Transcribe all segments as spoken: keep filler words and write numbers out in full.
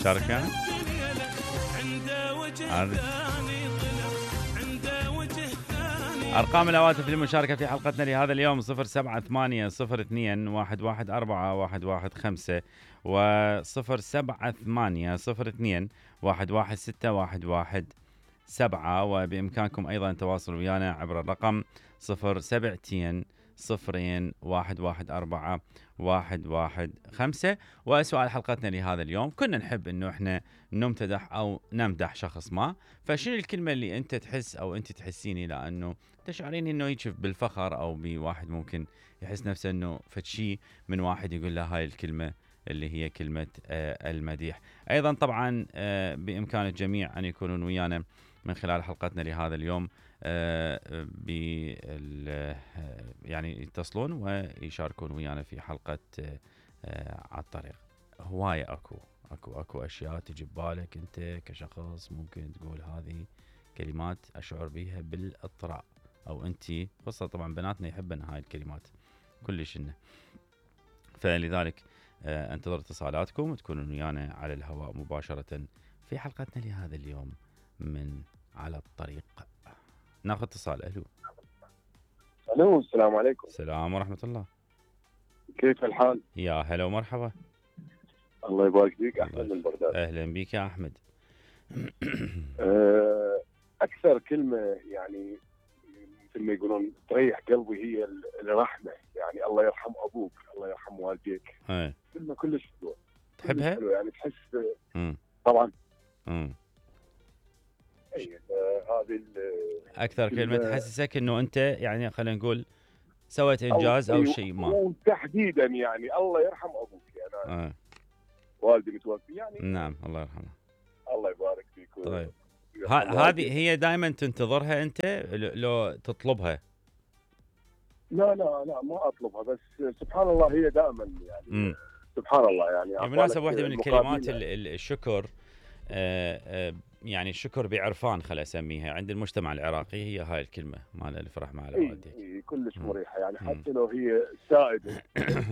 شاركة أرقام الهواتف للمشاركة في حلقتنا لهذا اليوم صفر سبعة ثمانية صفر اثنين واحد واحد أربعة واحد واحد خمسة وصفر سبعة ثمانية صفر اثنين واحد واحد ستة واحد واحد سبعة. وبإمكانكم أيضا التواصل ويانا عبر الرقم صفر سبعتين صفرين واحد واحد أربعة واحد واحد خمسة. وسؤال حلقتنا لهذا اليوم، كنا نحب إنه إحنا نمتدح أو نمدح شخص ما، فشنو الكلمة اللي أنت تحس أو أنت تحسيني لأنه تشعرين إنه يشوف بالفخر أو بواحد ممكن يحس نفسه إنه فتشي من واحد يقول له هاي الكلمة اللي هي كلمة آه المديح. أيضا طبعا آه بإمكان الجميع أن يكونون ويانا من خلال حلقتنا لهذا اليوم آه بال يعني يتصلون ويشاركون ويانا في حلقة آه على الطريق. هواية أكو أكو أكو أشياء تجي ببالك أنت كشخص ممكن تقول هذه كلمات أشعر بها بالاضطراب، أو أنت خاصة طبعا بناتنا يحبن هاي الكلمات كلش إنه، فلذلك آه انتظر اتصالاتكم وتكونون ويانا على الهواء مباشرة في حلقتنا لهذا اليوم من على الطريق. ناخذ اتصال. ألو. ألو، السلام عليكم. السلام ورحمة الله. كيف الحال؟ يا هلا ومرحبا. الله يبارك فيك. أحمد من بغداد. أهلا بك يا أحمد. أكثر كلمة يعني مثل ما يقولون تريح قلبي هي الرحمة، يعني الله يرحم أبوك، الله يرحم والديك. أي. كلمة كلش حلوة. تحبها؟ حلوة يعني تحس. مم. طبعا. مم. أي هذه أكثر كلمة تحسسك إنه أنت يعني خلينا نقول سويت إنجاز أو, أو شيء ما. وتحديدا يعني الله يرحم أبوك يعني. آه. والدي متوفي يعني. نعم الله يرحمه. الله يبارك فيك. طيب. هذه هي دائما تنتظرها أنت لو تطلبها؟ لا لا لا ما أطلبها، بس سبحان الله هي دائما يعني. م. سبحان الله يعني. بالمناسبة واحدة من الكلمات الشكر آه آه يعني الشكر بعرفان خل أسميها عند المجتمع العراقي، هي هاي الكلمة مال الفرح مع والديك. إيه كلش مريحة يعني م. حتى لو هي سائدة.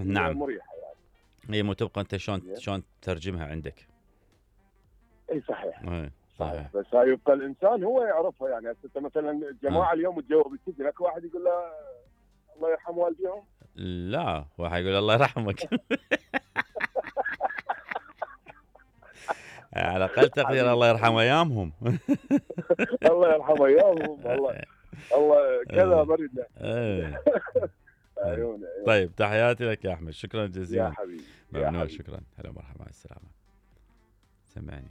نعم مريحة يعني. هي مو تبقى أنت شلون شلون تترجمها عندك. اي صحيح. اي صحيح. بس هاي يبقى الانسان هو يعرفها يعني. هسه مثلا الجماعه اليوم تجاوب السجن، اكو واحد يقول له الله يرحم والديهم؟ لا واحد يقول الله يرحمك. على الاقل تقدير الله يرحم ايامهم. الله يرحم ايامهم. والله الله كذا بردنا. عيوني. طيب تحياتي لك يا احمد، شكرا جزيلا يا حبيبي. ممنون. شكرا. هلا مرحبا مع السلامه. سمعني.